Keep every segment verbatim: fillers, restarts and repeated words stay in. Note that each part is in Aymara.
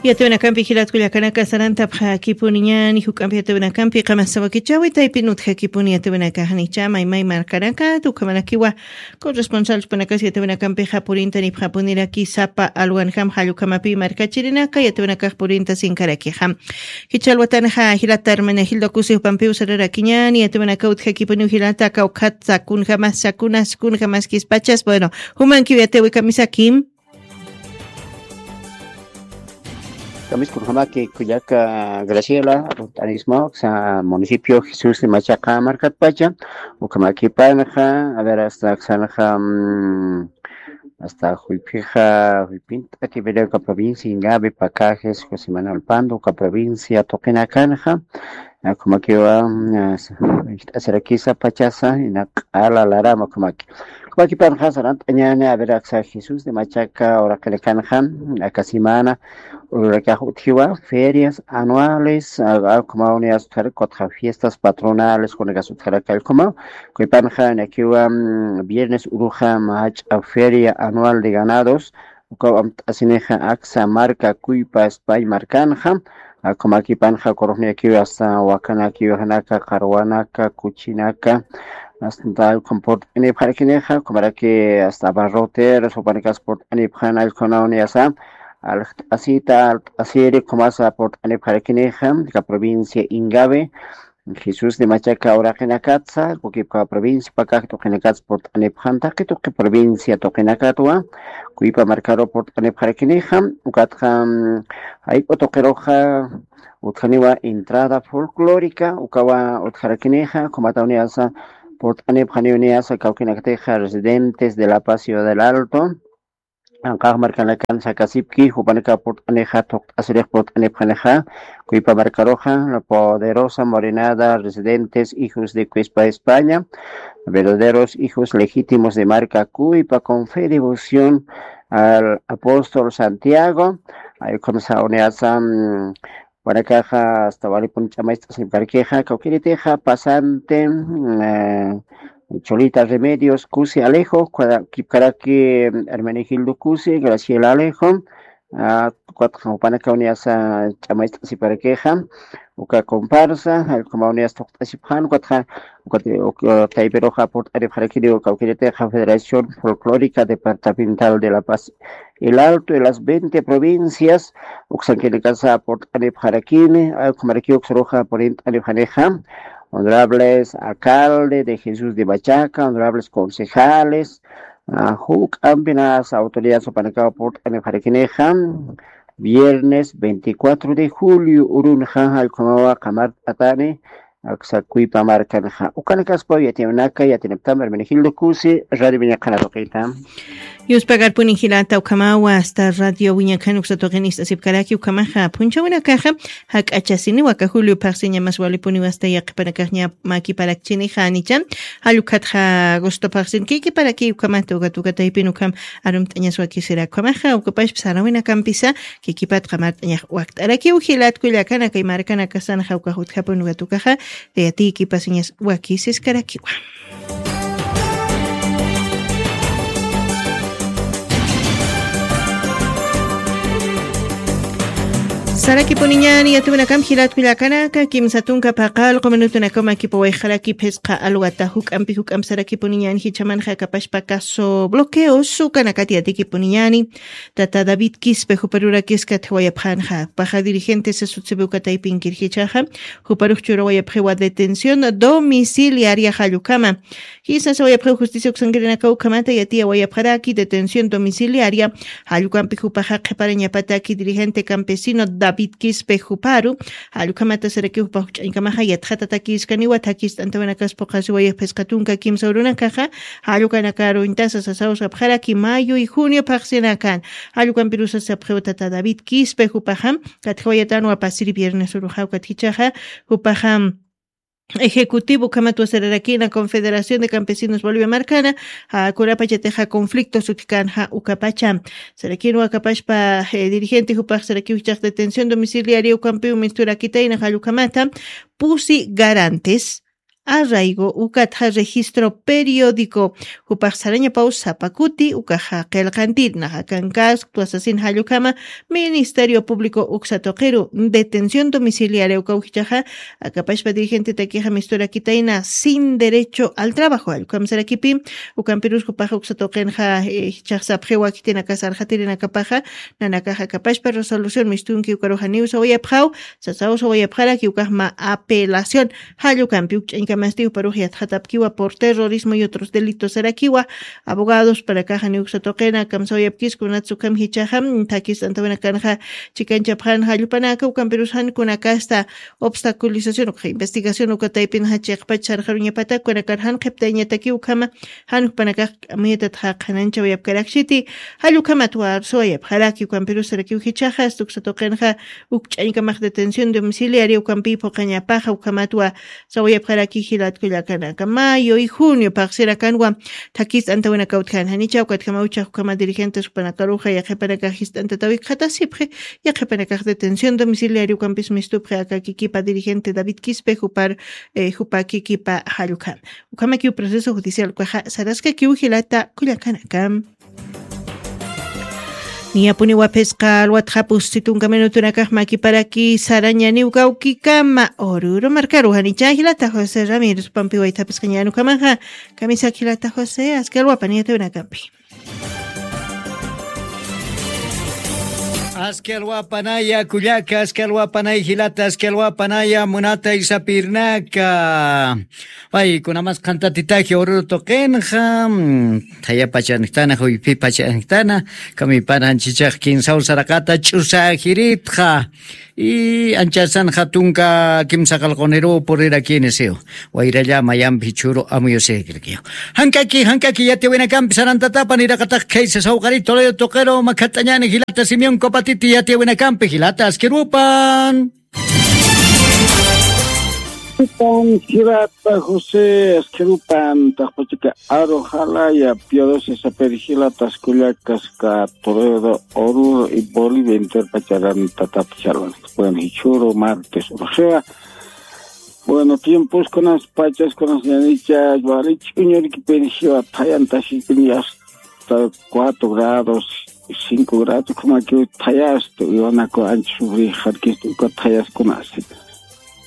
Yatawinakampi jilatkullakanaka sarantapxakipuniñani juk'ampi yatawinakampi qamasawakichawi taypin utjakipuni yatawinakaxnicha maymay markanaka tukhamanakiwa. Corresponsal chupanakas yatawinakampixa purinta nipxapuniraki sapa alwanjam jallukamapi markachirinaka yatawinakax purinta sinkarakixa. Jichhalwatanxa jilata hermana jilda kusi jupampiw sararakiñani yatawinaka utjakipuniw jilata kawkhat sakunjamas sakunas kunjamaskispachas bueno. Jumankiw yatawikamisakim. Kamiskunjamaki kullaka Graciela, Urt'anismo, sa municipio Jesús de Machaca markatpacha, ukamakipanxa, a ver, hasta xanxa, mm, hasta juypixa, juypinta que verga provincia Ingabe, Pacajes, José Manuel Pando, ka provincia Toquinacanxa, Akumakiwa ijt'asirakisa pachasa ina q'ala larama akumaki. Akumakipanxa sarant'añani aver aksa Jesús de Machaca uraqinakanxa aka semana ururakax utjiwa ferias anuales, akumaw niyas utjarak kutxa fiestas patronales kunakas utjarak allkumaw. Kuypanxa nakiwa viernes uruxa mach'a feria anual de ganados, ukaw amt'asinixa aksa marka kuypa España markanxa. Akumakipanxa kurujniyakiw asta wakanakiwixanaka qarwanaka kuchinaka asta allkum purt'anipxarakinixa kumaraki asta abarroteros jupanikas purt'anipxan allkunaw niyasa alxt'asita alt'asiri kumasa purt'anipxarakinixa ka provincia Ingabe. Jesús de Machaca uraqinakatsa kukipka provincia pakak tuqinakatsa purt'anipxan taqi tuqi provincia tuqinakatwa kuypa markaru purt'anipxarakinixa. Ukatxa jayk'u tuqiruxa utjaniwa entrada folclórica ukawa utjarakinixa kumatawni asa purt'anipxaniwni asa kawkinakatixa residentes de La Paz ciudad del Alto. Anqax markanakan sakasipki jupanaka purt'anixa thuqt'asirix purt'anipxanixa kuypa markaruxa la poderosa morenada residentes hijos de Cuespa España, verdaderos hijos legítimos de marca kuypa con fe y devoción al apóstol Santiago. Ay ukham sawni asa panakaxa asta walipun ch'amayst'asipkarkixa kawkiritixa pasante Cholita Remedios Kusi Alejo, kipkaraki Hermenegildo Kusi, Graciela Alejo, ukatxa panakaw niyasa ch'amayst'asipkarakixa uka comparsa allkumaw niyas thuqt'asipxan ukatxa taypiruxa purt'anipxarakini uka ukiritixa Federación Folclórica Departamental de La Paz, el Alto y las veinte provincias uksankinikasa purt'anipxarakini. Ukhamarakiw uksaruxa purint'anipxanixa honorables alcalde de Jesús de Machaca, honorables concejales, juk'ampinasa autoridad supanakaw purt'anipxarakinixa viernes veinticuatro de julio urunxa allkumawa qamart'atani aksa kuypa markanxa. Ukanakaspaw yatiyanaka yatinaptam hermenegildo kusi radio viñaqana tuqita. Yuspagarpuni jilata ukhamawa asta radio wiñakhan uksa tuqin ist'asipkaraki ukhamaxa phunchhawinakaxa jak'achasiniwa aka julio phaqsiña mas walipuniwa asta yaqhipanakaxña makiparakchinixa anicha. Jallukhatxa agosto phaqsin kikiparakiy ukhamata ukat ukataypin ukham arumt'añas wakisira ukhamaxa ukapashpa sarawinakampisa kikipat qamart'añax wakt'arakiw jilat kullakana kay markanakasanxa ukax utjapun ukat ukaxa tayatïkipasiñas wakisiskaraki. Sarakipuniñani yatuwinakam jilatkullakanaka kimsa tunka paqal quminutunakama kipuwayxaraki phisqa alwata juk'ampi juk'ampi sarakipuniñani jichhamanxa kapashpa caso bloqueos ukanakati yatikipuniñani. Tata David Quispe juparurakis katjawayapxanxa paxa dirigentes sutsebew kataypinkir jichhaxa juparux churawayapxiwa detención domiciliaria jallukama. Jisa sawayapxiw justicia uksankirinakaw ukhamata yatiyawayapxaraki detención domiciliaria jallukampi jupaxa qhiparañapataki dirigente campesino David Quispe juparu. Jallukhamata sarakiw jupa jukch'añkamaxa yatxatatakïskaniwa thakist'antawanakas phuqhasiwayapxisqa tunka kimsa urunakaxa. Jallukanakaruñtasa sasaw sapxaraki mayo y junio phaqsinakan. Jallukampirusa sapxiw tata David Quispe jupaxam katjawayatanwa pasiri viernes uruxaw katjichaxa jupaxam ejecutivo ukhamat wasararakina confederación de campesinos bolivia markana. Kunapachatixa conflicto sutkanxa ukapacha sarakinwa kapashpa dirigente jupax sarakiw jichax detención domiciliaria ukampiw misturakitayna jallukhamata pusi garantes. arraigo ukatxa registro periódico. Jupax sarañapaw sapakuti ukaxa qillqantir naxa kankasktu asasin jallukama ministerio público uksatuqiru detención domiciliaria ukawjichaxa akapashpa dirigentetakixa misturakitayna sin derecho al trabajo jallukama sarakipi. Ukampirus jupaxa uksatuqinxa jichaxsapxiwa kitinakasarxatirinakapaxa nanakaxa akapashpa resolución mistunki ukarujaniw sawayapxaw. Sasaw sawayapxaraki ukaxma apelación jallukampi ukch'añkamasti uparux yatxatapkiwa por terrorismo y otros delitos sarakiwa. Abogados panakaxa niwksa tuqina kamsawayapkisku natsukham jichaxa thakis antawinakanxa chikanchapxan jallupanaka ukampirus jankunakasta obstaculización ukxa investigación ukataypinxa chiqpach sarxaruñapatak kunakar jan qhiptayñataki ukhama jan jupanakax k'amiyatat jaqananchawayapkarakchiti. Jallukhamatwa sawayapxaraki ukampirus sarakiw jichaxa stuksa tuqinxa ukch'añkamax detención domiciliaria ukampi phuqañapaxa ukhamatwa sawayapxaraki jilat kullakanaka mayo y junio phaxsirakanwa. Thakist'antawinaka utjan janicha ukatjama uchax ukhama dirigentes jupanakaruxa yaqhipanakax jist'antatawikxatasipxi yaqhipanakax detención domiciliaria ukampis mistupxi aka kikipa dirigente david quispe jupar jupa kikipa jallukhama. Ukhamakiw proceso judicial ukaxa saraskakiw jilata kullakanaka. Niyapuniwa phisqa alwatxa pusti tunka minutunakax makiparaki sarañaniw kawkikama ururu markaru janicha jilata josé ramírez pampi waythapisqañanukhamaxa. Kamisak jilata josé aski alwapa niyatawinakampi. Aski alwapanaya kullaka aski alwapanay jilata aski alwapanaya munata isapirnaka. Paykunamas qhantatitaji ururu tuqinxa thayapachanjtana juypipachanjtana. Kamipananchichax kinsaw saraqata ch'usajiritxa. Y anchasanxa tunka kimsa qalquniruw purirakini siw wayralla mayampi chhuru amuyusikirkiw. Jankaki jankaki yatiyawinakampi sarantatapan iraqatax khaysa sawqari toledo tuqiru makhat'añani jilata simeon copatiti yatiyawinakampi jilata askirupan. Pan jilata josé askirupan taqpachaka aru jalaya piodosi sapir jilata askullakaska toledo oruro y bolivia enterpacharan tatapchalan. Bueno jichhuru martes urxiwa. Bueno tiemposkunas pachaskunas ñanicha wali ch'uñurkipin jiwa thayantasipin asta cuatro grados cinco grados kumakiw thayasta uywanakwa ancha sufrixarkista uka thayaskunasi.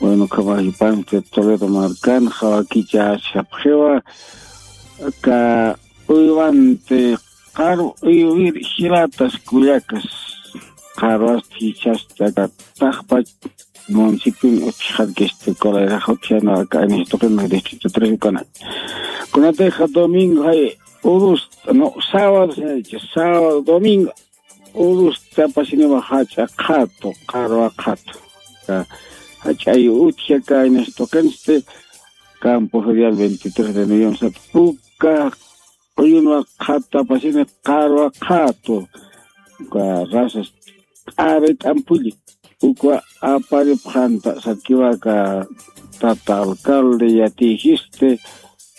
Bueno kamajipanti toledo markan jawakicha sapxiwa ka uywanti qaru uywir jilatas kullakas. Qarwasti jichhasta ka taqpach municipin utjxarkisti colayrax utjana ka anistuqinma distrito tres ukanay. Kunatixa domingo jay urusta no sábado sinacha sábado domingo urusta pasiniwa jach'a qhatu qarwa qhatu. Jach'ay utja ka anistuqinsti campo ferial veintitrés de noviembre sat uka uyunwa qhata pasini qarwa qhatu. Uka razas t'arit'ampulli ukwa aparipxanta sakiwaka tata alcalde yatiyisti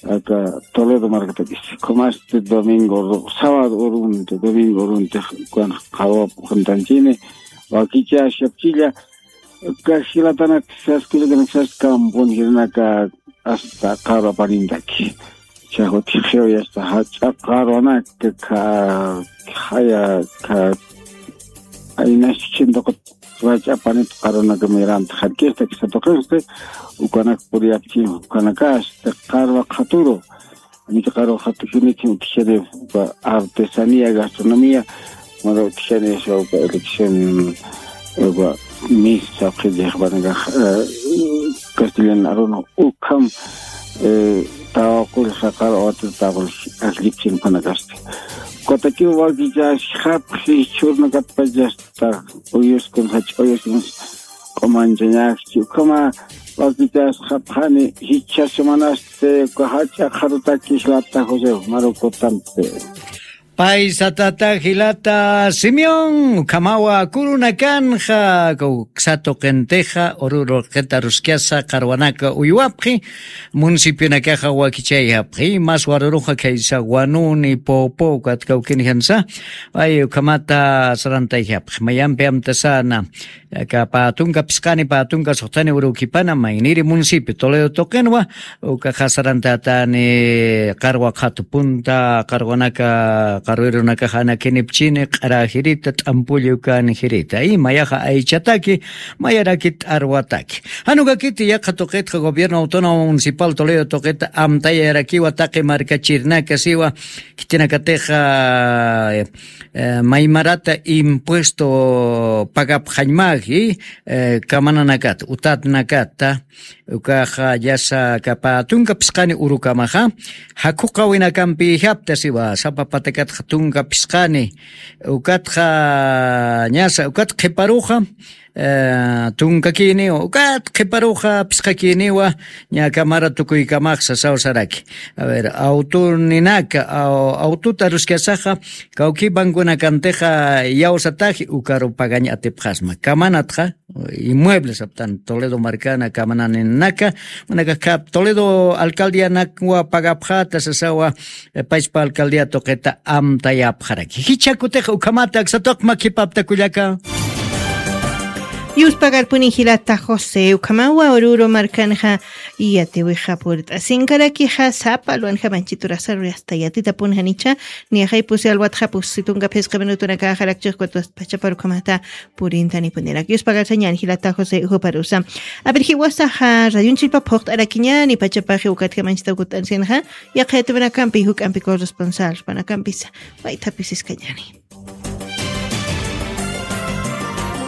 aka toledo markatakis. Khumasti domingo sábado urunti domingo urunti ukwan qhawap uqantanchini wakichashapchilla. Uka jilatanak saskullakanak sas campon jilanaka asta qarwa panintaki. Chaxutix jiwayasta jach'a qarwanaka kha khaya kha aynaschichintuqut rach'a panit qarwanaka miranta jarkista kisa tuqinsti ukanak puriyapchin ukanakasti qarwa qhaturu. Anita qarwa qhatukiniti utjani uka artesanía gastronomía mara utjani sawka elección uka mis sawqi diqpanaka castellan aruna ukham tawaqullxa qarwa watir tawaqull ajllipchin panakasti. Ukatakiw wakichasxapxi chhurnakatpachasta uyuskun jach'a uyuskun q'umanchañaxchi ukhama wakichasxapxani jichha semanasti uka jach'a qharutaki jilata josé marukutampi. Paysa tata jilata Simeón, ukhamawa kurunakanxa, uksa tuqintixa, ururu qita ruskasa, qarwanaka uywapxi, municipionakaxa wakichayapxi, mas waruruxa khaysa Wanuni, Poopó, ukat kawkinijansa, ay, ukhamata sarantayapxi, mayampi amtasana, aka pä tunka phisqani, pä tunka suxtani urukipana, mayniri municipio, Toledo tuqinwa, ukaxa sarantatani, qarwa qhatu punta, qarwanaka, qarwirunakaxa anakinipchini, q'ara jirita, t'ampulli ukan jirita. Y mayaxa aychataki, mayaraki t'arwataki. Jan ukakiti yaqha tuqitxa gobierno autónomo municipal Toledo tuqita amtayarakiwa taqi markachirinaka siwa, khitinakatixa, eh, maymarata impuesto pagapxañmagi, eh, kamananakata, utatnakata, ukaxa yasa aka pä tunka phisqani urukamaxa, jakhuqawinakampi japta siwa, sapa patakatxa tunka phisqani, ukatxa ñasa, ukat qhiparuxa, eh, tunkakiniwa, ukat qhiparuxa phisqakiniwa, ña kamara tukuykamax sasaw saraki. A ver, autoninaka, au-, autota ruskasaxa, kawki banconakantixa yawsataji ukaru pagañ atipxasma. Kamanatxa, inmuebles aptan Toledo markana kamananinaka, manaka ka-, Toledo alcaldianakwa pagapxata sasawa, eh, payspa alcaldía tuqita amtayapxaraki. Jichha kutixa ukhamata aksa tuqi makipapta kullaka. Yuspagarpuni jilata José, ukhamawa ururu markanxa yatiwixa purt'asinkarakixa, sapa luwanxa manchiturasa rurasta yatitapun janicha, niyaxay pusi alwatxa pusi tunka phisqa minutunakaxa rakchix cuatro pachapar ukhamata purintanipuniraki. Yuspagarsañäni jilata José juparusa. A ver, jiwasaxa radionchillpa phuqt'arakiñäni pachapaxi ukatxa manchita ukut'ansinxa, yaqha yatiwinakampi juk'ampi corresponsal panakampisa, waythapisis kañäni.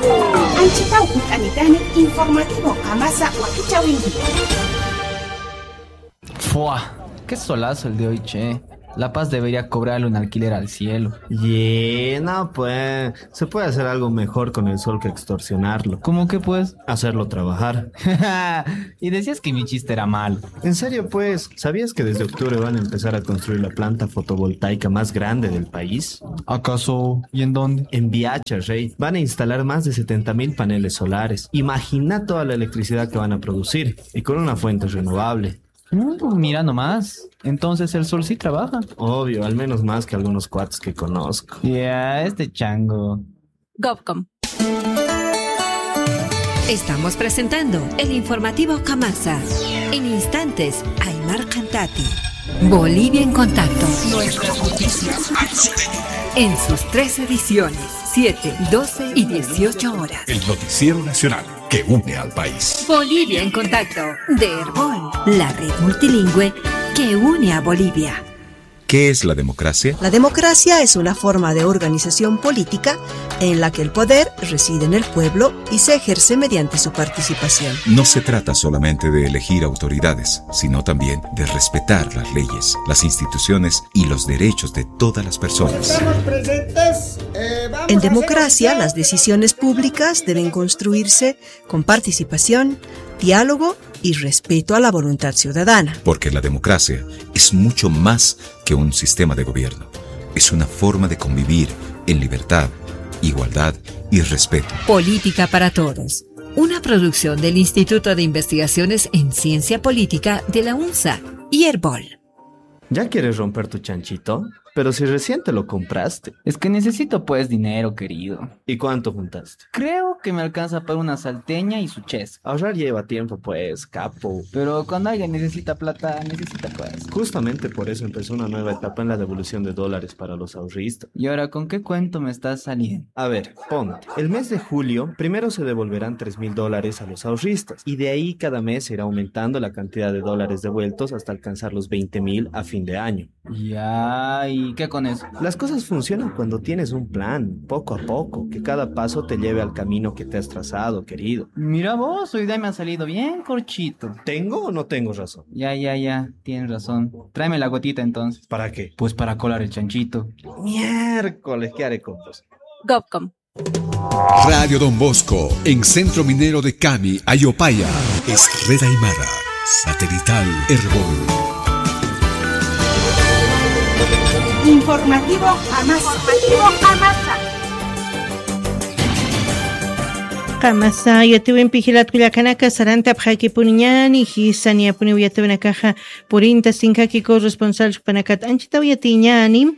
Anchitaw juk'anitani informativo qamasa wakichawinki. ¡Fua! ¡Qué solazo el de hoy, che! La Paz debería cobrarle un alquiler al cielo. Yeah, no, pues, se puede hacer algo mejor con el sol que extorsionarlo. ¿Cómo qué, pues? Hacerlo trabajar. Y decías que mi chiste era malo. En serio, pues, ¿sabías que desde octubre van a empezar a construir la planta fotovoltaica más grande del país? ¿Acaso? ¿Y en dónde? En Viacha, rey. Van a instalar más de setenta mil paneles solares. Imagina toda la electricidad que van a producir. Y con una fuente renovable. Mm, mira nomás. Entonces el sol sí trabaja. Obvio, al menos más que algunos cuates que conozco. Ya, este chango. Gov com. Estamos presentando el informativo Kamasa. En instantes, Aymar Cantati. Bolivia en contacto. Nuestras noticias. En sus tres ediciones, siete, doce y dieciocho horas. El noticiero nacional que une al país. Bolivia en contacto, de Erbol, la red multilingüe que une a Bolivia. ¿Qué es la democracia? La democracia es una forma de organización política en la que el poder reside en el pueblo y se ejerce mediante su participación. No se trata solamente de elegir autoridades, sino también de respetar las leyes, las instituciones y los derechos de todas las personas. Estamos presentes. Eh, vamos a hacer... En democracia, las decisiones públicas deben construirse con participación, diálogo y respeto a la voluntad ciudadana. Porque la democracia es mucho más que un sistema de gobierno. Es una forma de convivir en libertad, igualdad y respeto. Política para Todos, una producción del Instituto de Investigaciones en Ciencia Política de la UNSA y Erbol. ¿Ya quieres romper tu chanchito? Pero si recién te lo compraste. Es que necesito, pues, dinero, querido. ¿Y cuánto juntaste? Creo que me alcanza para una salteña y su chesca. Ahorrar lleva tiempo, pues, capo. Pero cuando alguien necesita plata, necesita, pues. Justamente por eso empezó una nueva etapa en la devolución de dólares para los ahorristas. ¿Y ahora con qué cuento me estás saliendo? A ver, ponte. El mes de julio, primero se devolverán tres mil dólares a los ahorristas, y de ahí cada mes se irá aumentando la cantidad de dólares devueltos hasta alcanzar los veinte mil a fin de año. Ya, ¿y qué con eso? Las cosas funcionan cuando tienes un plan, poco a poco, que cada paso te lleve al camino que te has trazado, querido. Mira vos, hoy día me ha salido bien corchito. ¿Tengo o no tengo razón? Ya, ya, ya, tienes razón. Tráeme la gotita entonces. ¿Para qué? Pues para colar el chanchito. Miércoles, ¿qué haré con vos? Gov com. Radio Don Bosco, en Centro Minero de Cami, Ayopaya. Es Red Aymara, satelital Erbol. Informativo Qamasa. Qamasa yatiwimpi jilatkullakanaka sarantapxakipuniñani, jisaniyapuniw yatiwinakaxa purinta sinkaki corresponsal supanakat anchitaw yatiñani.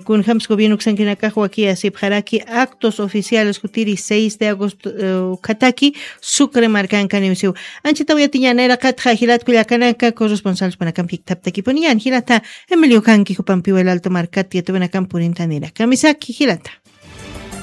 Kunjams gobierno ksankinakax wakiya sipxaraki actos oficiales jutiri seis de agosto, ukhataki sucre markankaniwsiw. Anchitaw yatiñani iraqatxa jilatkullakanaka corresponsal supanakampi jiktaptakipuniñani jilata. Emilio kanki jupampiwa el alto markat yatiwinakam purintanira kamisaki jilata.